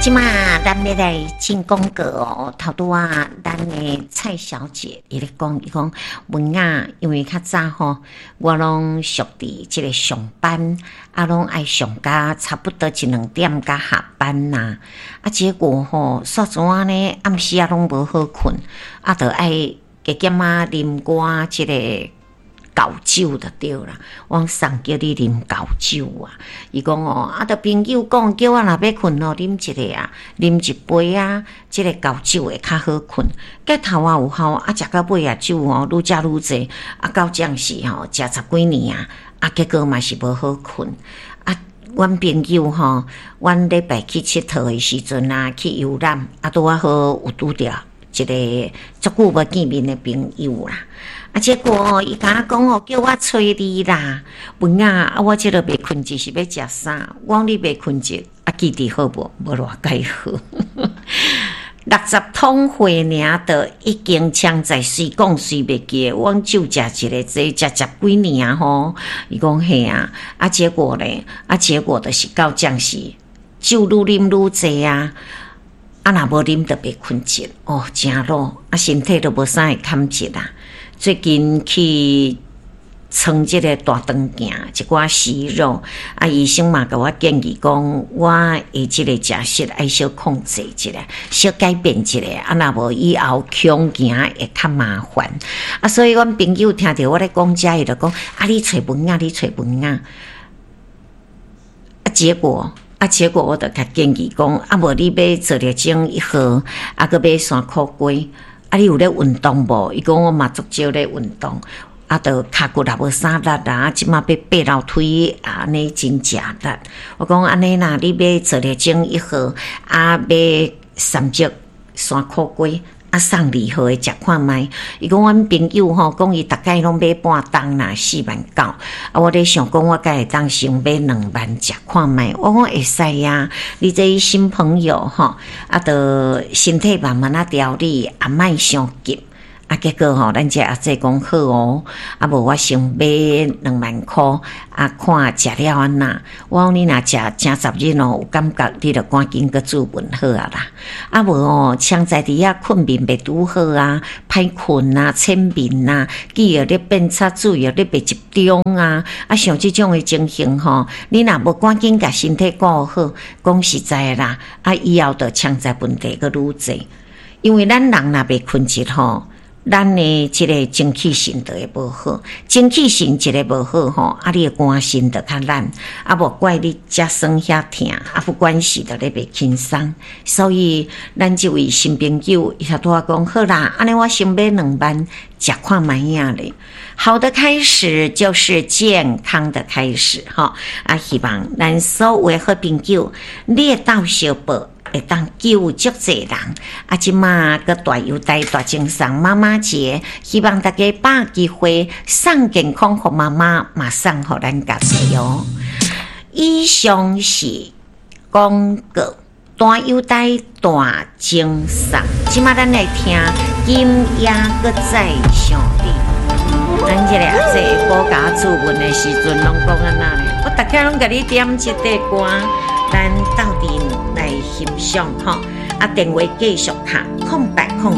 這馬咱欲來進廣告哦，頭拄仔咱的蔡小姐伊咧講，伊講文雅，因為較早吼，我攏熟佇這個上班，啊，攏愛上甲差不多一兩點才下班呐，啊，結果吼，煞怎按呢，暗時仔攏無好睏，啊，著愛加減仔啉寡這個厚酒就對啦，我送叫你啉厚酒啊！伊講哦，啊，著朋友講叫我若欲睏哦，啉一个啊，啉一杯啊，這个厚酒會較好睏。結頭仔有效，啊，食到尾啊，酒吼愈食愈濟，啊，到這時吼，食十幾年啊，啊，結果嘛是無好睏。啊，阮朋友吼，阮禮拜去𨑨迌的時陣啊，去遊覽，啊，拄仔好有拄著一个足久無見面的朋友啦。啊，結果伊共我講哦，叫我揣你啦，文雅啊，我這个袂睏著是欲食啥？我講你袂睏著，啊，記得好無？無偌蓋好。60桶血爾，就已經槍在隨講隨袂記得。我講酒食一个，這食十幾年啊吼。伊講嘿啊，啊結果咧，啊結果就是到這時酒愈啉愈濟啊。啊，若無啉就袂睏著哦，誠老啊，身體都無啥會堪折啊。最近去穿這个大腸鏡，一寡息肉，啊，醫生嘛共我建議講，我的這个食食愛小控制一下，小改變一下，啊，若無以後恐驚會較麻煩。啊，所以阮朋友聽著我咧講這，伊就講，啊，你揣文雅，你揣文雅。啊，結果。啊，結果我就共建議講，啊，無你買做熱精一盒，啊，閣買山苦瓜，啊，你有咧運動無？伊講我嘛足少咧運動，啊，著跤骨也無啥力啊，這馬欲爬樓梯啊，按呢真食力。我講按呢啦，你買做熱精一盒，啊，買三隻山苦瓜。啊，送二號的食看覓。伊講阮朋友吼，講伊逐擺攏買半擔啦，4萬9。啊，我咧想講，我敢會當先買2萬食看覓。我講會使啊，你這新朋友吼，啊，著身體慢慢仔調理，啊，莫傷急。啊，結果吼，咱這阿姐講好哦，啊無我先買2萬箍，啊看食了按怎。我講你若食誠十日哦，有感覺你就趕緊閣注文好啊啦。啊無哦，嗆在佇遐睏眠袂拄好啊，歹睏啊，淺眠啊，記憶力變差，注意力袂集中啊。啊，像這種的情形吼，你若無趕緊共身體顧好，講實在的啦，啊以後就潛在問題閣愈濟。因為咱人若袂睏著吼，咱的這个精氣神就會無好，精氣神一个無好吼，啊，你的肝腎就較懶，啊，無怪你遮酸遐疼，啊，不管是就咧袂輕鬆。所以，咱這位新朋友伊頭拄仔講好啦，按呢我先買兩萬，食看覓仔咧。好的開始就是健康的開始，吼！啊，希望咱所有的好朋友，你會鬥相報，會當救足濟人。啊，這馬閣大優待大贈送媽媽節，希望大家把握機會送健康予媽媽，嘛送予咱家己哦。以上是廣告，大優待大贈送。這馬咱來聽今夜閣再想你。咱這个阿姐下晡共我注文的時陣，攏講按怎咧？我逐擺攏共你點這塊歌，咱鬥陣來欣賞吼。啊，電話繼續敲080。